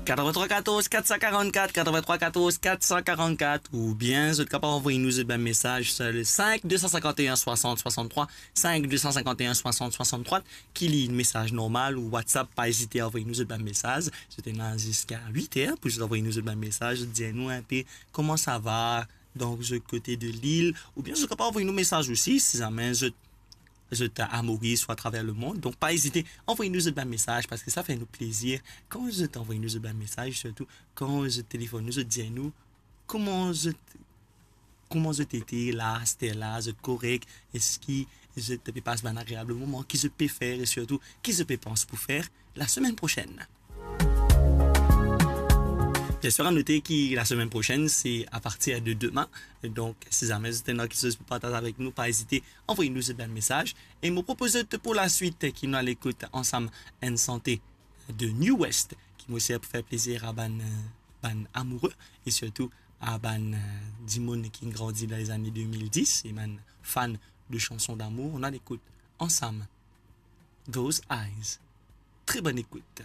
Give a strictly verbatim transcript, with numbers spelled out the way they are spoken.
Quatre-vingt-trois quatorze quatre cent quarante-quatre, quatre-vingt-trois quatorze quatre cent quarante-quatre, oubien zot kapav anvoy nou zot bann mesaz sur le cinq deux cent cinquante et un soixante soixante-trois, cinq deux cent cinquante et un soixante soixante-trois, ki li mesaz normal ou WhatsApp, pa ezite anvoy nou zot bann mesaz. Zot ena ziska wit er pou zot anvoy nou zot bann mesaz, zot dir nou inpe kouma sa va, dan zot kote de lil, oubien zot kapav anvoy nou mesaz osi, si zame zot, zot a Moris ou atraver lemond. Donk, pa ezite, anvoy nou zot bann mesaz, parski sa fer nou plezir kan zot anvoy nou zot bann mesaz, sirtou kan zot telefonn nou, zot dir nou kouma zot, kouma zot ete la, aster la, zot korek, eski zot pe pas bann agreab moman, ki zot pe fer, e sirtou ki zot pe pans pou fer lasemenn prosenn. Bien sir, a note ki lasemenn prosenn, se a partir de demain. Donk, si zame zot ena kiksoz pou partaz avek nou, pa ezite, anvoy nou zot bann mesaz. E mo propoz zot pou laswit ki nou al ekout ansam enn sante de New West, ki mo sir pou fer plezir a bann, euh, bann amoure, e sirtou a bann, euh, dimoun ki grandi dan lezane de mil dis, e bann fan de chanson d'amour. Nou al ekout ansam Those Eyes. Tre bonn ekout.